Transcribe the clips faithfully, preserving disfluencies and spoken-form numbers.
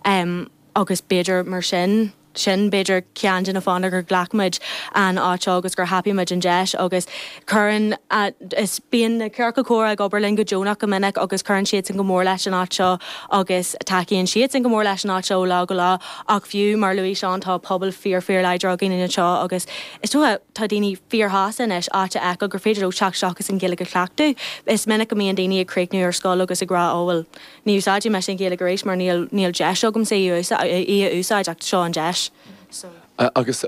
um, agus b'fhéidir mar sin sin b'fhéidir ceann de na fáthanna gur ghlac muid an áit agus gur thapaigh muid an deis agus cuireann is bíonn na ciorcail chomhrá ag obair linn go deonach go minic agus cuireann siad sin go mór leis an áit seo agus tacaíonn siad sin go mór leis an áit seo lá go lá ach fiú mar luaigh Seán tá pobal fíor fíor láidir againn anseo agus is dócha tá daoine fíorshásta anois áit a fheiceáil gur féidir leo teacht isteach agus an Ghaeilge a chleachtadh. Is minic go mbíonn daoine ag críochnú ar scoil agus ag rá ó bhuel ní úsáidfidh mé an Ghaeilge arís mar níl níl deis agamsa í a úsáid ach seo an deis. So. Agus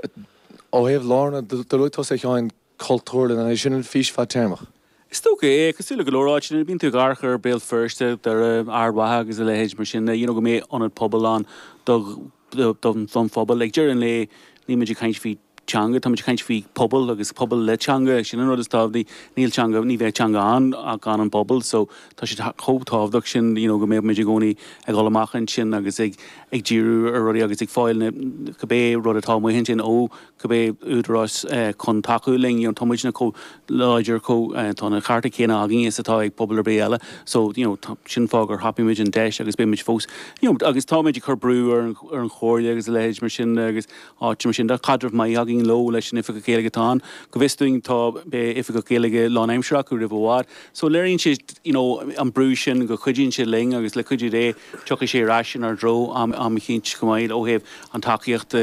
ó thaobh lárna do luaigh tusa Sheáin cultúrlann é sin an fís fadtéarmach. Is dócha é cosúil le go leor áiteanna bíonn tú ag amharc ar Béal Feirste ar Ard Mhacha agus a leithéid mar sin you know, go mbeidh ionad pobail ann do don phobal ag deireadh an lae níl muid ag caint faoi teanga tá muid ag caint faoi pobal agus pobal le teanga sin an rud is tábhachtaí níl teanga ní bheidh teanga ann ach gan an pobal so tá sé chomh tábhachtach sin you know, go mbeidh muid i gcónaí ag dul amach ansin agus ag ag díriú ar rudaí agus ag fáil na cibé rud atá amuigh ansin ó cibé údarás eh, chun tacú linn you know, tá muidne chomh láidir chomh eh, tá na cearta céanna againn is atá ag pobal ar bith eile so you know, tá, sin fáth gur thapaigh muid an deis agus beidh muid fós you know, agus tá muid ag cur brú ar an, ar an chomhairle agus a leithéid mar sin agus áit mar sin de caidreamh maith againn leo leis an oifigeach Gaeilge atá ann go bhfios dúinn tá beidh oifigeach Gaeilge lánaimseartha acu roimh i bhfad so léiríonn sé you know, an brú sin go cuidíonn sé linn agus le cuidiú Dé tiocfaidh sé ar ais inár dtreo am am eicínt go maith ó thaobh an tacaíocht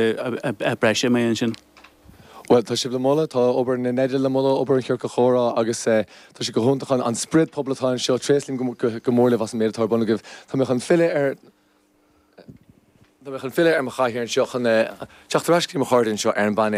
breise mé ansin. Well tá sibh le moladh tá obair na nEide le moladh obair an chiorcail chomhrá agus eh, tá sé go hiontach an spiorad pobail atá anseo tréaslaím go mór libh as an méid atá ar bun agaibh. Tá mé chun filleadh ar Tá mé chun filleadh ar mo chathaoir anseo chun teacht ar ais mo chairde anseo ar an bpainéal.